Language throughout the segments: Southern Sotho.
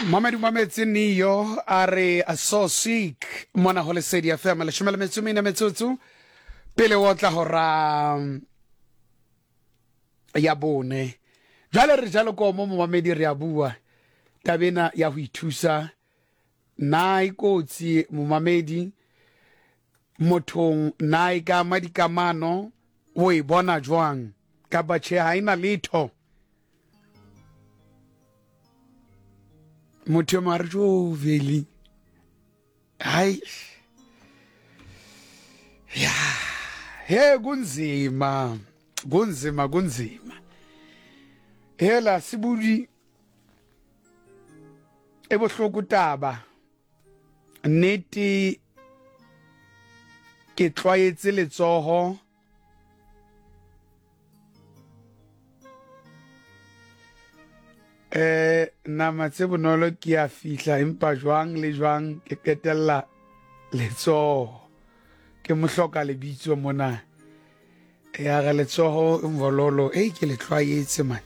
Mamedi mametse Neo a re so sick mona go Lesedi FM leshome le metso mene metsotso pele o tla hora ya bone. Jwale re jalo ko mo momamedi re a bua tabena ya go ithusa na e kotsi momamedi mothong na e ka ama dikamano o e bona jwang kapa tjhe ha e na letho. Motho yo mongwe a re jo veli hayi ya he kunzima kunzima kunzima hela sibudi e bohloko taba nnete ke tlwaetse letsoho Eh nama tse bonolo ke a fihla empa jwang le jwang ke qetella letsoho ke mohloka lebitso mona ya re letsoho mvololo ei ke le tlwaetse man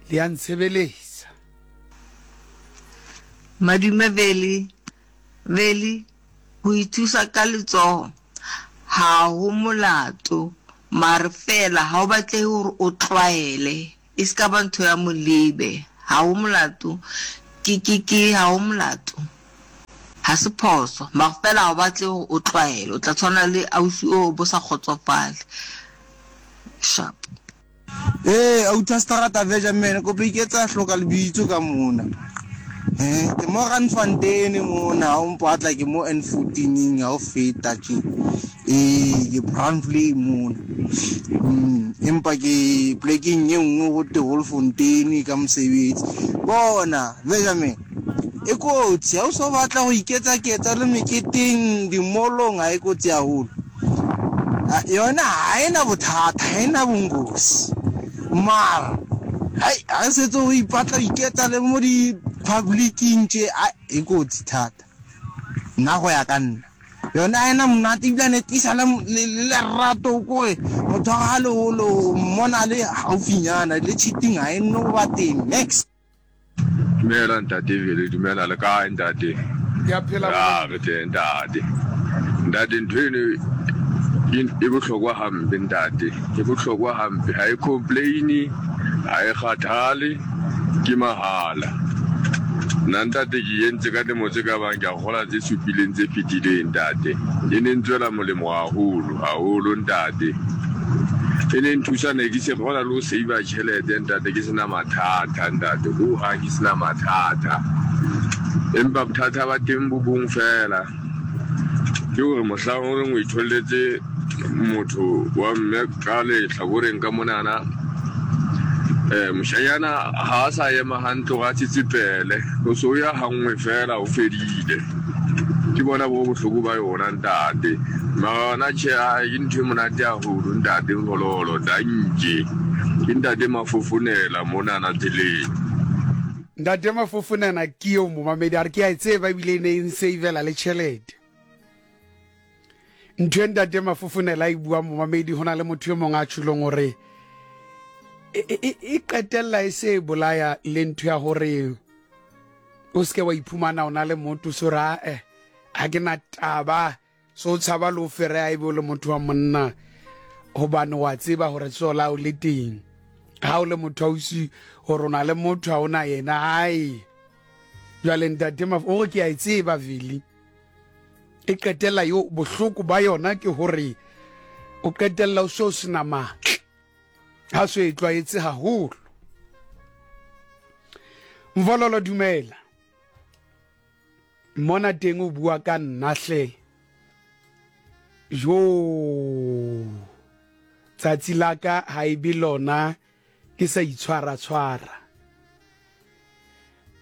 le ya ntshebeletsa. Madume Veli Veli Ho ithusa ka letsoho ha ho molato mare feela ha o batlehe hore o tlwaele e se ka ba ntho ya molebe. Ha ho molato ke ke ke ha ho molato ha se phoso mare feela ha o batlehe hore o tlwaele o tla tshwana le ausi oo o bo sa kgotsofale. Sharp. Ee, outer strata Benjamin, kopa iketsa hloka lebitso ka mona. Eh, ke mo Randfontein mona, ha o mpatla ke mo N14 ha o feta tje. Ee, ke Brandvlei mona. Mm, empa ke plekeng e nngwe go te Holfontein ka mosebetsi. Bona, Benjamin, e kotsi ha o so batla go iketsa-ketsa le meketeng, dimolong ha e kotsi haholo. Yona ha e na bothata, ha e na bongozi. Mara hai ha setse o ipatla o iketsa le mo di-public-ing tje, ai e kotsi thata. Nna go ya ka nna, yona ha e na monate ebilane e tlisa le lerato kore motho wa ga le hole o mmona a le haufinyana le cheating ha e no ba teng niks. Dumela ntate Vele, dumela le kae ntate? Ke a phela Ya re teng ntate. Ntate ntho eno e bohlokwa hampe ntate, e bohlokwa hampe. Ha e complain, ha e kgathale, ke mahala. Nna ntate ke entse ka lemo tse ka bang ke a kgola tse supileng tse fetileng ntate. E ne ntswela molemo haholo haholo ntate. E ne nthusa ne ke se kgona le ho save-a tjhelete ntate ke sena mathata ntate ho hang ke sena mathata. Empa bothata ba teng bo bong fela ke hore mohlang o reng o itholletse motho wa mme ka lehlakoreng ka monana um moshanyana ha a sa ema hantle gore a tsetsepele o se o ya gangwe fela o fedile. Ke bona bo bohloko ba yona ntate. Mara yona tjhe ke ntho e monate haholo ntate Ngololo danke. Ke ntate Mafofonela monana tseleng. Ntate Mafofonela ke eo momamedi a re ke a e tseba ebile e ne e nsavela le tjhelete. Ntho e ntate Mafofonela a e buang momamedi ho na le motho e mong a tjholong hore e, e, e, e qetella e se e bolaya le ntho ya hore o seke wa iphumana o na le motho so ra eh ha ke na taba so o tshaba le o fereya ebe o le motho wa monna gobane wa tseba gore tsogo la o le teng ga o le motho ausi gore o na le motho ga o na yena ai jwale ntate maf o re ke a e tseba vele e qetella yo bohloko ba yona ke gore o qetella o se o sena matla ga se e tlwaetse gagolo mvololo dumela Mona teng o bua ka nna hle. Joo. Tsatsi la ka ha e be lona ke sa itshwara tshwara.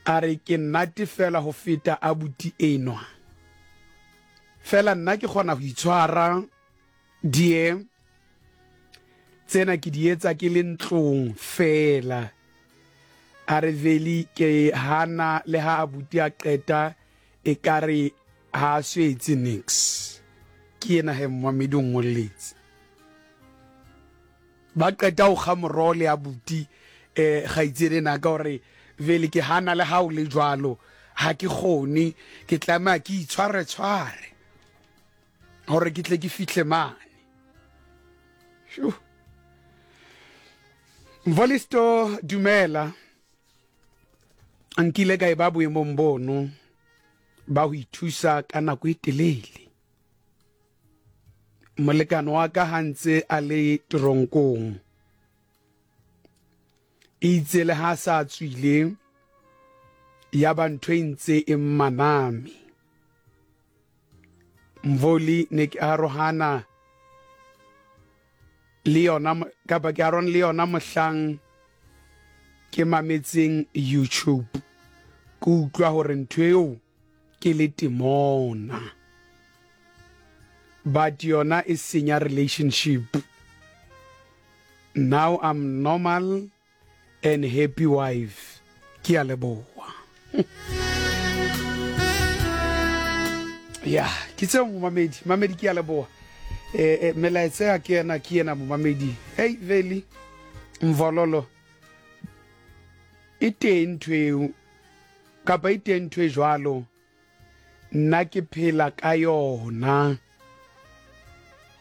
A re ke nnate fela ho feta abuti enwa. Fela nna ke kgona ho itshwara dear. Tsena ke di etsa ke le ntlong feela. A re Veli ke hana le ha abuti a qeta e kare ha a so etse nix. Ke yena he mmamedi o ngolletse. Ba qeta ho kga moroho le abuti eh kgaitsedi ena ka hore Vele ke hana le ha o le jwalo, ha ke kgone, ke tlameha ke itshware-tshware hore ke tle ke fihle mane. Shu. Mvolisto, dumela. Nkile ka e ba boemong bono ba ho ithusa ka nako e telele. Molekane wa ka ha ntse a le teronkong. Eitse le ha sa tswile ya ba ntho e ntse e mmaname. Mvoli ne ke arohana le yona kapa ke arohana le yona mohlang ke mametseng YouTube ke utlwa hore ntho eo ke le temona but yona e senya relationship now I'm normal and happy wife ke a leboa ya ke tseo momamedi mamedi ke a leboa eh, eh melaetsa ya ke ena ke ena momamedi hey veli mvololo e teng ntho eo kapa e teng ntho e jwalo Nna ke phela ka yona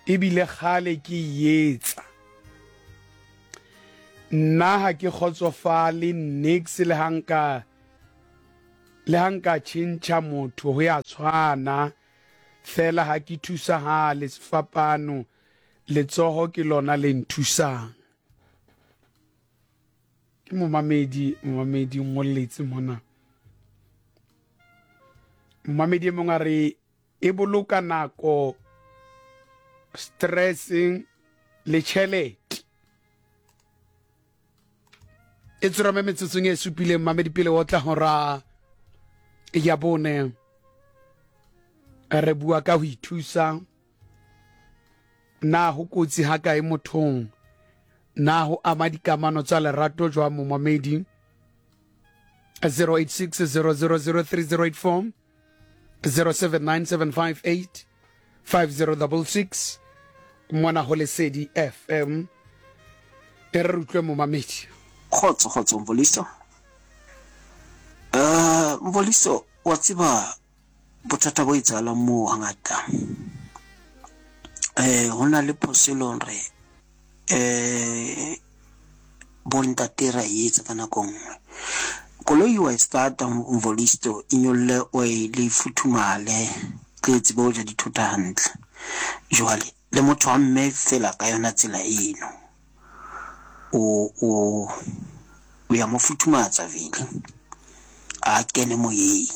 ebile kgale ke e etsa. Nna ha ke kgotsofale niks le ha nka le ha nka tjhentjha motho ho ya tshwana fela ha ke thusahale sefapano letsoho ke lona le nthusang. Ke momamedi, momamedi o ngolletse mona. Momamedi e mongwe a re e boloka nako, stress le tšhelete. E tsorame metsotsong e supileng mamedi pele o tla hora ya bone. Re bua ka ho ithusa Na ho kotsi hakae mothong? Na ho ama dikamano tsa lerato jwang momamedi? 086 000 3084 079758 5066 mona ho Lesedi FM. E re re utlwe momamedi. Kgotso kgotso Mvoliso. Eh Mvoliso wa tseba Bothata bo etsahalang moo hangata eh ho na le phoso e leng hore eh bontate ra e etsa ka nako nngwe. Koloi wa e starta Mvolisto e nyolle oil e futhumale tle e tsebe ho ja dithota hantle. Jwale le motho wa mme fela ka yona tsela eno o o o ya mo futhumatsa vele a kene moyeng.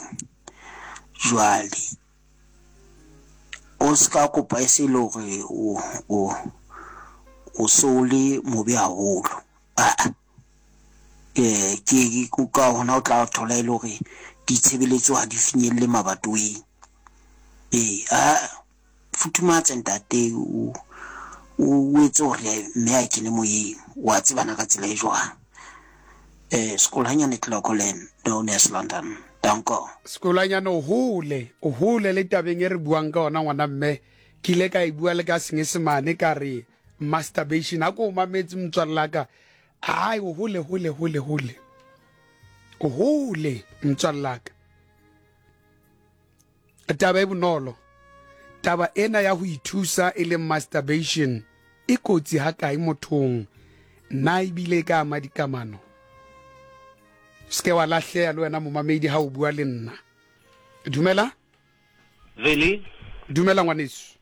Jwale o ska kopa e se le hore o o o so le mobe haholo. Aa eh ke ka hona o tla thola e le hore ditshebeletso ha di finyelle mabatoweng. Ee aa Futhumatse ntate o o etse hore mme a kene moyeng wa tsebana ka tsela e jwang. Eh Sekolanyane Clocolan known as London. Danko. Sekolanyane o hole, o hole le tabeng e re buang ka ona ngwana mme. Ke ile ka e bua le ka Senyesemane ka re masturbation. Ha ko o mametse motswalle ka. Ai o hole hole hole hole. O hole motswalle ka. Taba e bonolo, Taba ena ya ho ithusa e leng masturbation e kotsi hakae mothong? Na ebile e ka ama dikamano? Se ke wa lahleha le wena momamedi ha o bua le nna. Dumela. Veli. Dumela ngwaneso.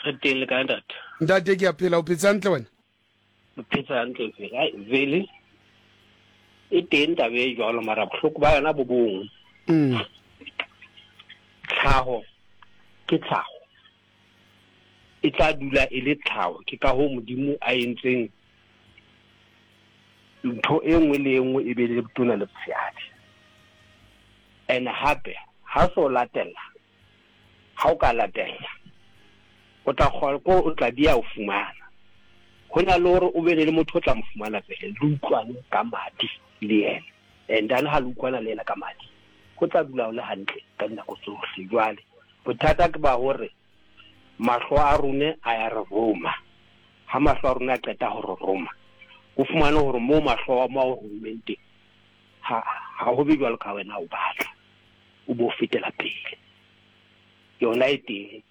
Re teng le kae ntate? Ntate ke a phela, o phetse hantle wena? O phetse hantle Veli. Ai Veli e teng taba e jwalo mara bohloko ba yona bo bong. Mm. Tlhaho ke tlhaho. E tla dula e le tlhaho ke ka hoo Modimo a entseng ntho e nngwe le e nngwe e be le botona le botshehadi. And hape ha so latella Ha o ka latella, o tla kgona ko o tla dia o fumana. Ho na le hore o be le motho o tla mo fumana pele le utlwane ka madi le yena. And then ha le utlwana le yena ka madi, ho tla dula ho le hantle ka dinako tsohle. Jwale bothata ke ba hore mahlo a rone a ya re roma. Ha mahlo a rona a qeta ho re roma, o fumane hore moo mahlo a mo a o rommeng teng, Ha ha ho be jwalo ka wena o batla. O bo fetela pele. Yona e teng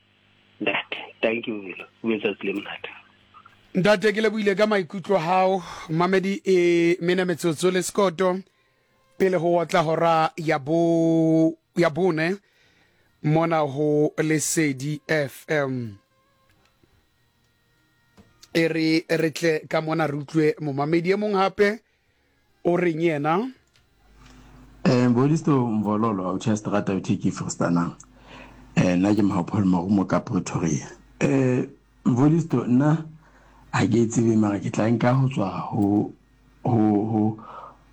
ntate. Thank you Velo. O be letsatsi le monate. Ntate ke lebohile ka maikutlo hao mamedi e mene metsotso le sekoto pele ho otla hora ya bo ya bone mona ho Lesedi FM. E re re tle ka mona re utlwe momamedi e mong hape o reng yena. Eh Mbolisto Mvololo a utjha strata u theki Freestanang. Eh nna ke Mhao Paul Marumo ka Pretoria. Eh Mvolisto nna ha ke e tsebe mara ke tla nka ho tswa ho ho ho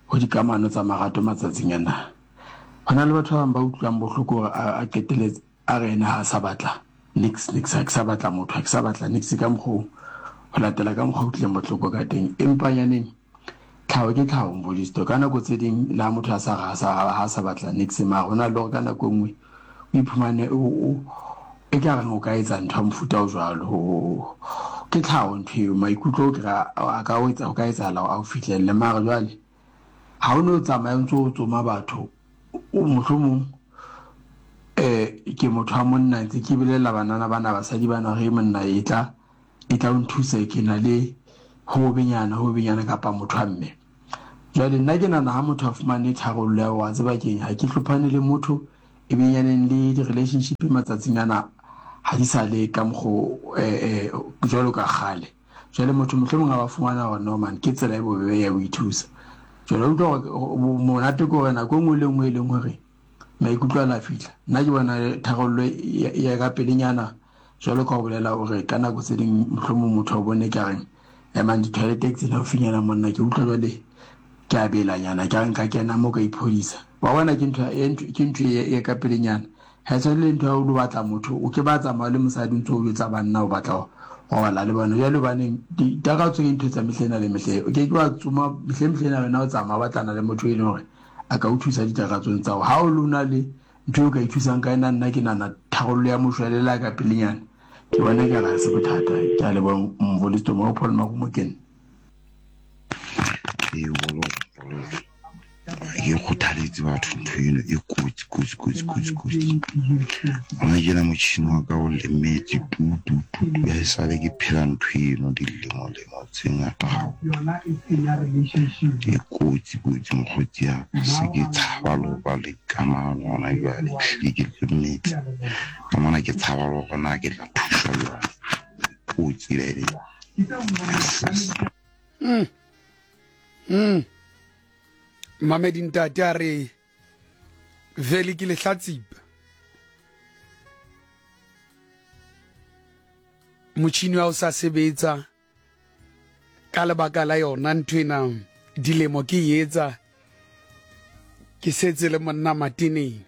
ho dikamano tsa marato matsatsing ana. Ho na le batho ba bang ba utlwang bohloko hore a qeteletse a re ena ha a sa batla nix nix ha ke sa batla motho ha ke sa batla nix ka mokgwa oo ho latela ka mokgwa o utlwileng bohloko ka teng. Empa nyaneng Tlhaho ke tlhaho Mvolisto. Ka nako tse ding le ha motho a sa re ha a sa batla niks mara ho na le hore ka nako e nngwe o iphumane o e ka reng o ka etsa ntho ya mofuta o jwalo. Ke tlhaho ntho eo, maikutlo o kry-a a ka o etsa ho ka etsahala hore a o fihlelle mara jwale ha o no tsamaya o ntso o tsoma batho mohlomong ke motho wa monna ntse ke bolella banana bana basadi bana hore monna e tla E tla o nthusa ke na le ho benyana ho benyana kapa motho wa mme. Jwale nna ke nahana ha motho a fumane tharollo ya wa tseba keng ha ke hlophane le motho e benyaneng le di-relationship matsatsing ana ha di sa le ka mokgo eh, eh, jwalo ka kgale. Jwale motho mohlomong a ba fumana hore no man ke tsela e bobebe ya ho ithusa. Jwale utlwa hore monate ke hore nako e nngwe le nngwe e leng hore maikutlo a la fihla. Nna ke bona tharollo ya ka pelenyana Jwalo ka o bolela o re ka nako tse ding mohlomong motho a o bone ka reng emang di-toilet ke tsena haufinyana monna ke utlwa jwale ke a belanyana ke a nka kena mo ka iphodisa. Wa bona ke ntho ke ntho e ka pelenyana. Ha e tshwane le ntho ya o lo batla motho o ke ba tsamaya le mosadi o ntse o jwetsa banna o batla ho robala le bona. Jwale hobaneng ditakatso ke ntho tsa mehla ena le mehla o ke ke wa tsoma mehleng mehleng ena wena o tsamaya o batlana le motho e leng hore a ka o thusa ditakatsong tsa hao. Ha o lona le Ntho eo ka ithusang ka ena nna ke nahana tharollo ya moshwelella ka pelenyana ke bona e ka re ha se bothata. Ke a leboha Mvolisto Mo Paul Marumo ke nna. Ee, bololo, bololo. Ke kgothaletse batho ntho eno e kotsi kotsi kotsi kotsi kotsi. Gona tjena motšhini wa ka o lemetse tu tu tu tu ha esale ke phela ntho eno dilemo lemo tse ngata haholo. E kotsi kotsi mokgotsi ya ka se ke tshaba le ho ba le kamano gona jwale ehlile ke lemetse ka mona ke tshaba le hore na ke tla thuswa jwang. Kotsi bebe. Yes. Mamedi ntate a re vele ke lehlatsipa. Motšhini wa o sa sebetsa ka lebaka la yona ntho ena dilemo ke e etsa ke setse le monna mateneng.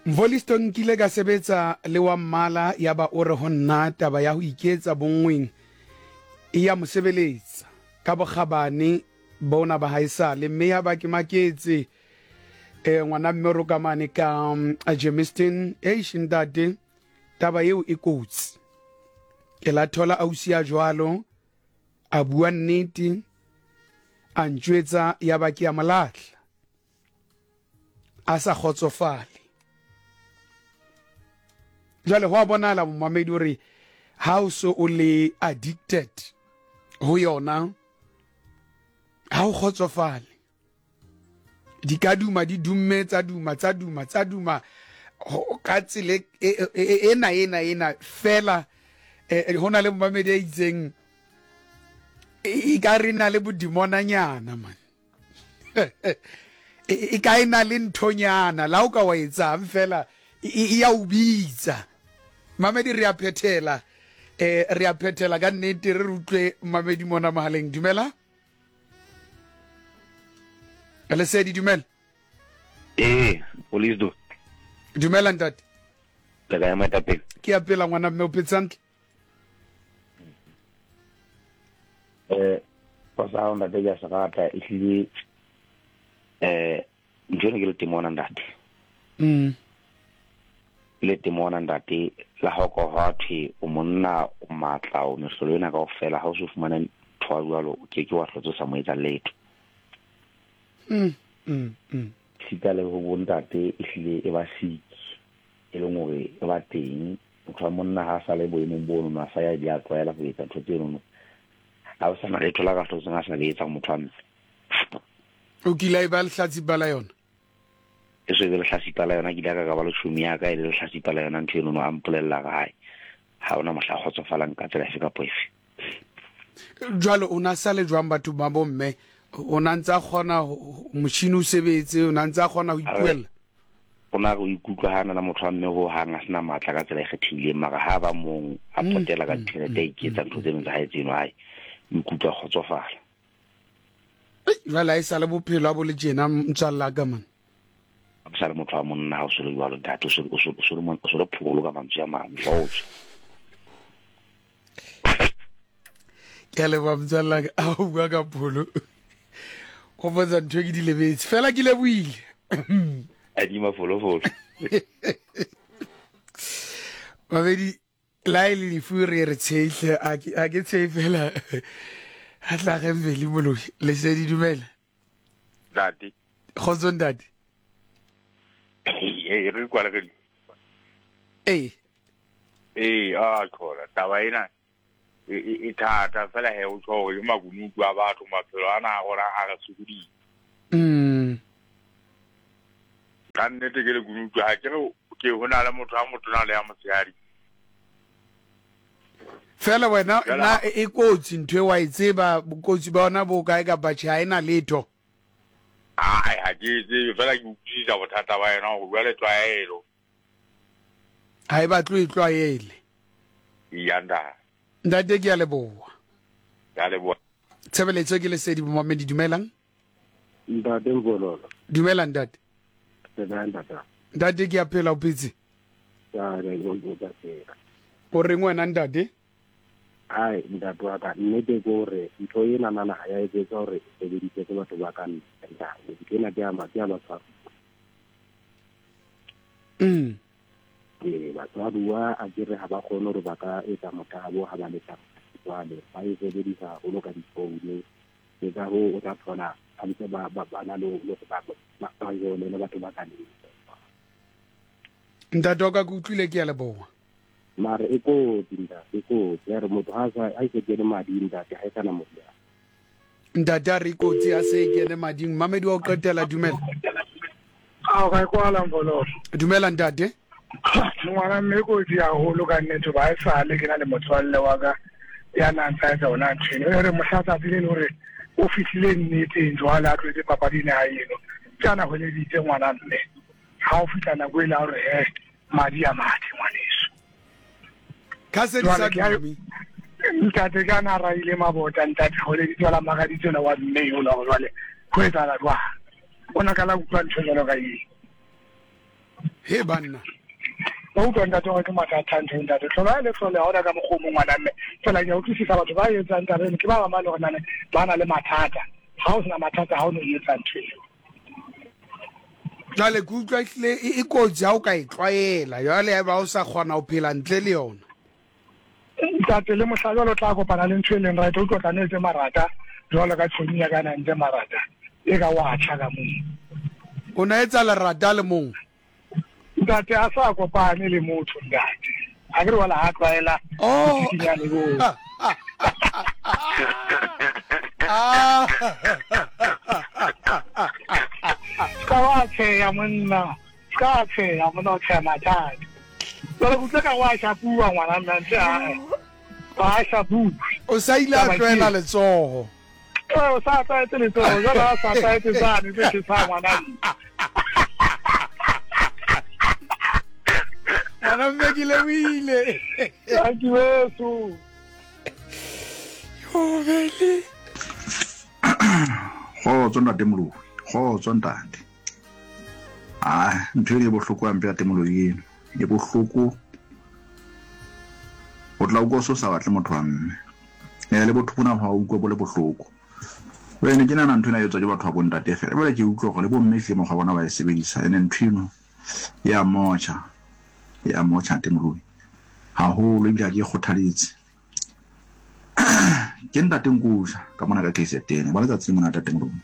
Mvolisto nkile ka sebetsa le wa mmala ya ba o re ho nna taba ya ho iketsa bonngweng e ya mo sebeletsa ka bokgabane bona ba haesale mme ya ba ke maketse eh ngwana mme ro ka mane ka mm, Germiston eish ntate taba eo e kotsi ke la thola ausi ya jwalo a bua nnete a ntjwetsa ya ba ke ya molahla a sa kgotsofale jwale go a bonala momamedi gore ha o so o le addicted ho yona ha o kgotsofale di ka duma di dumme tsa duma tsa duma tsa duma ka tsela e, e, e, ena ena ena fela ho na le momamedi a itseng e ka re na le bodimonanyana man e ka e na le nthonyana la o ka wa etsang fela e ya o bitsa mamedi re a phethela eh re a phethela ka nnete re utlwe mamedi mona mohaleng dumela lesedi dumela ee police dumela ntate le kae moetapele ke a pela ngwana mme o phetse hantle eh sa hao ntate ke a se rata ehlile eh ntho eno ke le temona ntate mm ke le temona ntate la hao ka hwa thwe o monna o matla o mehlolo ena kaofela ha o so fumane ntho Motho wa jwalo o ke ke wa hlotse o sa mo etsa letho. Mm, mm, mm. Sita le ho bontate e hlile e ba siki e leng hore e ba teng. Motho wa monna ha a sa le boemong bono, a sa ya di a tlwaela ho etsa ntho tsenono. Ha o sa na letho la ka hlotseng a sa le etsa motho wa mme. O kile a e ba lehlatsipa la yona? E so e be lehlatsipa la yona, ke ile ka ka ba le tjhomi ya ka e le lehlatsipa la yona ntho enono, a mpolella re hae ha ona mohla a kgotsofalang ka tsela efe kapa efe. Jwale o na sale jwang batho ba bomme? O na ntse a kgona motjhini o sebetse, o na ntse a kgona ho ipuella? O na re o ikutlwa ha na motho wa mme ho hang a sena matla ka tsela e kgethehileng, mara ha ba mong a potela ka tjhelete a iketsa ntho tseno tsa hae tseno, hae o ikutlwa kgotsofala. Jwale ha e sale bophelo a bo le tjena motswalla ka man. O sa le motho wa monna ha o se le jwalo ntate, o se le pholo ka mantswe a mang, o tswe. Ke a leboha motswalla ka, a o bua ka pholo. Gopotsa ntho e ke di lebetse, fela ke lebohile. Adima folofolo. Babedi la e le lefu re re tshehle, a ke tshehe fela. A tla ge Mveli Moloi, lesedi dumela. Ntate. Kgotso ntate. Ee, re kwa le re. Ee. Ee, a thola taba ena e thata fela he o tjho hore ke makunutu a batho maphelo ana a rona a re sokoditse. Ka nnete ke lekunutu ha ke re ke ho na le motho a motona le ya motshehadi. Fela wena na e kotsi ntho e wa e tseba bokotsi ba yona bo kae kapa tjhe ha e na letho? Ai ha ke e tsebe fela ke utlwisisa bothata ba yona hore jwale tlwaelo. Ha e batle o e tlwaele. Iya ntate. Ntate ke a leboha. Ke a leboha. Tshebeletso ke Lesedi Momamedi dumelang. Ntate Mvololo. Dumela ntate. Le kae ntate? Ntate ke a phela o phetse? Ya re go go ka phela. O reng wena ntate? Ai ntate wa ka nnete ke hore ntho ena nana ha ya etsetswa hore e sebediswe ke batho ba ka ntle ntate. Ntho ena ke ya ke ya batshwaruwa. Ee, batshwaruwa a ke re ha ba kgone hore ba ka etsa motabo ha ba le jwale ba e sebedisa haholo ka difounu. Ke ka hoo o tla thola ba ntse ba ba ba na le le ba ba ba jole le batho ba ka ntle. Ntate wa ka ke utlwile ke a leboha. Mare e kotsi ntate, e kotsi. Ya re motho ha sa ha e se kene mading ntate, ha e sa na moriana. Ntate a re e kotsi ha se e kene mading. Mamedi wa ho qetela dumela. Ao ka e kwala Mvololo. Dumela ntate. Ngwana mme e kotsi haholo ka nnete ba e sale ke na le motswalle wa ka ya na ntsa etsa ona ntho eno. E re mohla tsatsi le le hore o fihlile nneteng jwale a tlwetse papadi ena ya eno. Ke ana hweleditse ngwana mme. Ha o fihla nako ele ya hore he madi a mathe ngwaneso. Ka se di sa dume. Ntate ka na raile mabota ntate hweleditse la makaditse la wa mme eo la hore jwale ho etsahala jwang. O na ka la utlwa ntho jwalo ka eo. He banna. Ba utlwa ntate gore ke mathata ntho ntate. Tlhola le tlhole ha ona ka mokgwa o mong ngwana mme. Fela ke a utlwisisa batho ba etsang taba eno ke ba bang ba le hore nane ba na le mathata. Ha o sena mathata ha o no etsa ntho eo. Jwale ke utlwa ehlile e kotsi ha o ka e tlwaela. Jwale ha eba o sa kgona ho phela ntle le yona. Ntate le mohla jwale o tla kopana le ntho e leng right, o tlo tla ne etse marata jwalo ka tshomi ya ka na ntse marata e ka wa tjha ka moo. O na etsa lerata le mong? Ntate a sa kopane le motho ntate. A ke re wala ha tlwaela Oh. botsikinyane boo. Ska wa tsheya monna. Ska tsheya monna o tsheya mathata. Jwale ke utlwa ka wa shapuwa ngwana mme ntse a ba shapuwe. O sa ile a tlwaela letsogo. Ee, o sa tlwaetse letsogo jwale a sa tlwaetse tsane tse tjhesang ngwana mme. Ngwana mme ke lebohile. Thank you weso. Yo bele. Kgotso ntate Moloi, kgotso ntate. Ah, ntho eno e bohloko hampe ntate Moloi eno. E bohloko. O tla utlwa o se o sa batle motho wa mme. Eh le botho bona ha o utlwa bo le bohloko. Jwale ne ke nahana ntho ena e etswa ke batho ba bontate fela. Jwale ke utlwa hore le bomme ehlile mokgwa wa bona ba e sebedisa. Ene ntho eno e a motjha. E a motjha ntate Moloi. Haholo ebile ha ke e kgothaletse. Ke ntate Nkusha ka mona ka KZN. Ba letsatsi le monate teng rona.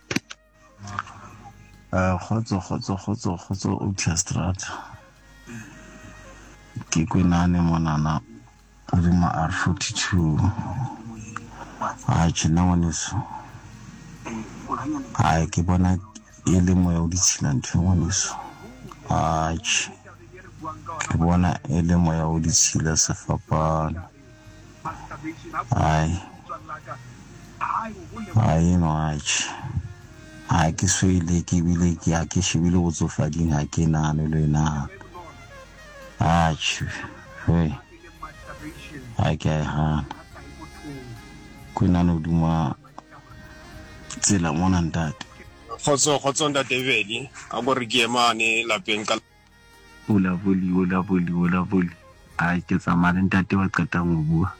Eh, kgotso kgotso kgotso kgotso Oakley Strata. Ke kwenane monana hodima R42. Atjhe nna ngwaneso. Hai ke bona e le moya o ditshila ntho e ngwaneso. Atjhe. Ke bona e le moya o ditshila sefapano. Hai. Hai eno atjhe. Ha ke so e leke ebile ke ha ke shebile botsofading ha ke nahane le e nahana. Atjhe. Hei. Ha ke a e hana. Kwenane hodima tsela mona ntate. Kgotso kgotso ntate Veli a ko re ke emane lapeng ka Ola voli ola voli ola voli ai ke tsamaya le ntate wa qetang ho bua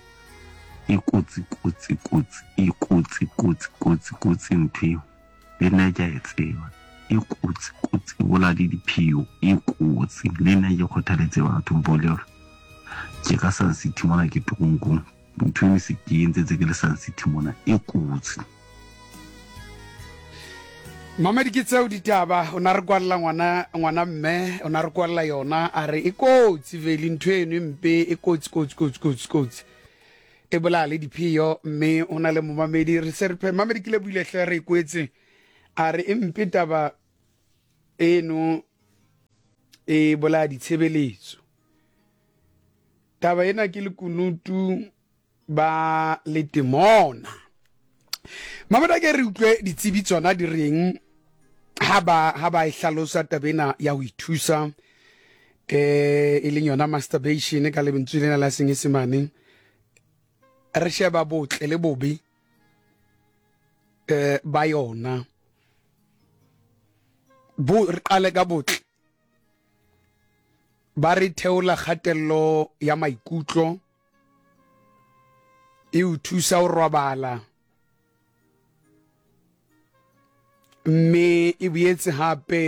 e kotsi kotsi kotsi e kotsi kotsi kotsi kotsi ntho eo le nna ke a e tseba e kotsi kotsi e bolaya le diphio e kotsi le nna ke kgothaletse batho mpole hore ke ka Sun City mona ke toronkong ntho eno se ke entse tse ke le Sun City mona e kotsi. Mamedi ke tseo ditaba o na re kwalla ngwana ngwana mme o na re kwalla yona a re e kotsi vele ntho eno e mpe e kotsi kotsi kotsi kotsi kotsi e bolaya le diphio mme o na le momamedi re se re phe mamedi ke le buile hle re e kwetse a re e mpe taba eno e bolaya ditshebeletso taba ena ke lekunutu ba letemona mamedi ke re utlwe ditsebi tsona di reng ha ba ha ba e hlalosa taba ena ya ho ithusa eh e leng yona masturbation ka lentswe lena la senyesemane re sheba botle le bobe eh ba yona bo re qale ka botle ba re theola kgatello ya maikutlo e o thusa ho robala mme e boetse hape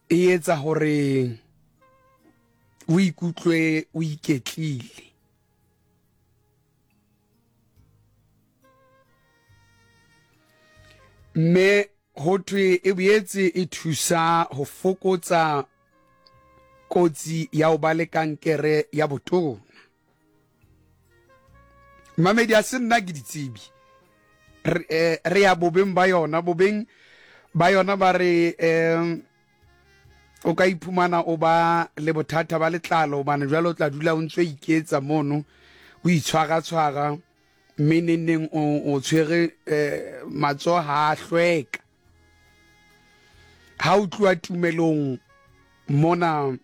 e etsa hore o ikutlwe o iketlile. Mme ho thwe e boetse e thusa ho fokotsa kotsi ya ho ba le kankere ya botona. Mamedi a se nna ke ditsebi. Re, eh, re ya bobeng ba yona, bobeng ba yona ba re eh, o ka iphumana o ba le bothata ba letlalo hobane jwale o tla dula o ntse o iketsa mono o itshwaratshwara mme nengneng o, o tshwere eh, matsoho ha a hlweka ha o tluwa tumelong mona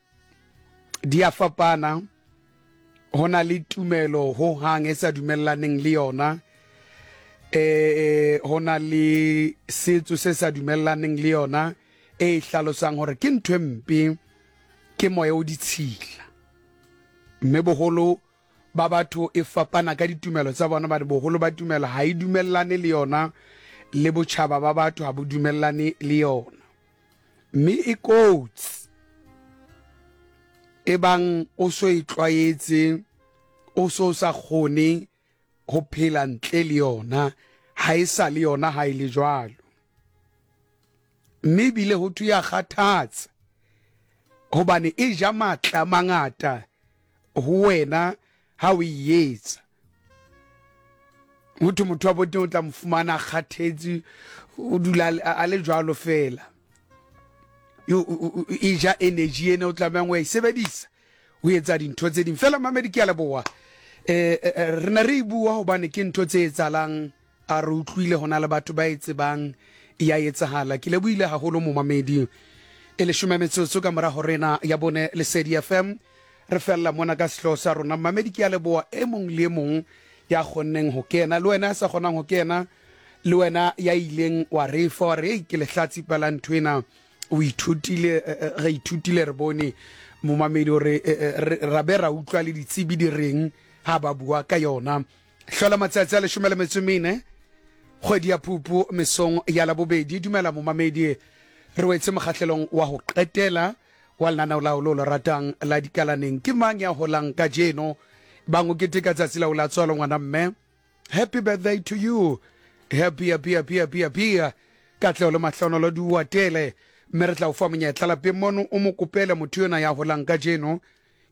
di a fapana ho na le tumelo ho hang e sa dumellaneng le yona eh ho na le setso se sa dumellaneng le yona e hlalosang hore ke ntho e mpe ke moya o ditshila mme boholo ba batho e fapana ka ditumelo tsa bona ba boholo ba tumelo ha e dumellane le yona le botjhaba ba batho ha bo dumellane le yona mme e kotsi ebang o so e tlwaetse o so sa kgone ho phela ntle le yona ha e sa le yona ha e le jwalo mme ebile ho thwe ya kgathatsa hobane e ja matla a mangata ho wena ha o e etsa ho thwe motho wa boteng o tla mo fumana a kgathetse o dula a le jwalo fela e ja energy ena o tlamehang o e sebedisa o etsa dintho tse ding fela mamedi ke a leboa eh, eh, eh re ne re e bua hobane ke ntho tse etsalang a re utlwile hona le batho ba e tsebang ya etsahala ke lebohile haholo momamedi e leshome metsotso ka mora horena ya bone lesedi fm re fella mona ka sehlooho sa rona mamedi ke a leboa e mong le e mong ya kgonneng ho kena le wena ya sa kgonang ho kena le wena ya ileng wa re fa wa re ei ke lehlatsipa la ntho ena o ithutile eh, eh, re ithutile re bone momamedi gore eh, ra be ra utlwa le ditsebi di reng ha ba bua ka yona hlola matsatsi a leshome le metso mene kgwedi ya phupu mesong ya labobedi dumela momamedi re wetse mokgahlelong wa ho qetela wa lenaneo lao lo le ratang la dikalaneng ke mang ya holang kajeno Bang o keteka tsatsi la o la tswalo ngwana mme. Happy birthday to you. Happy happy happy happy happy. Katleho le mahlonolo di o atele. Mme re tla o fa monyetla lapeng mono o mo kopele motho yona ya holang kajeno.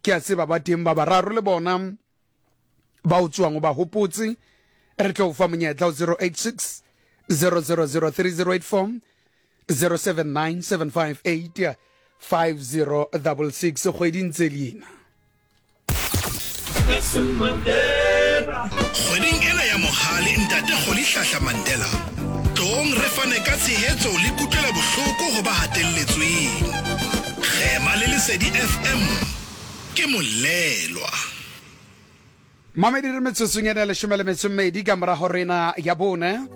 Ke a tseba ba teng ba bararo le bona ba o tsoang o ba hopotse. Re tlo o fa monyetla o 086 000 3084 079 758 5066 kgwedi ntse leina. Kgweding ena ya Mohale Ntate Rholihlahla Mandela, tloong re fane ka tshehetso le kutlwelobohloko ho ba hatelletsweng. Kgema le Lesedi FM ke molelwa. Mamedi re metsotsong ena 12 ka morago rena ya bone.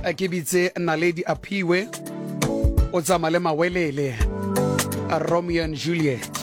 Ke bitse Naledi Aphiwe o tsamaya le Mawelele, Romeo and Juliet.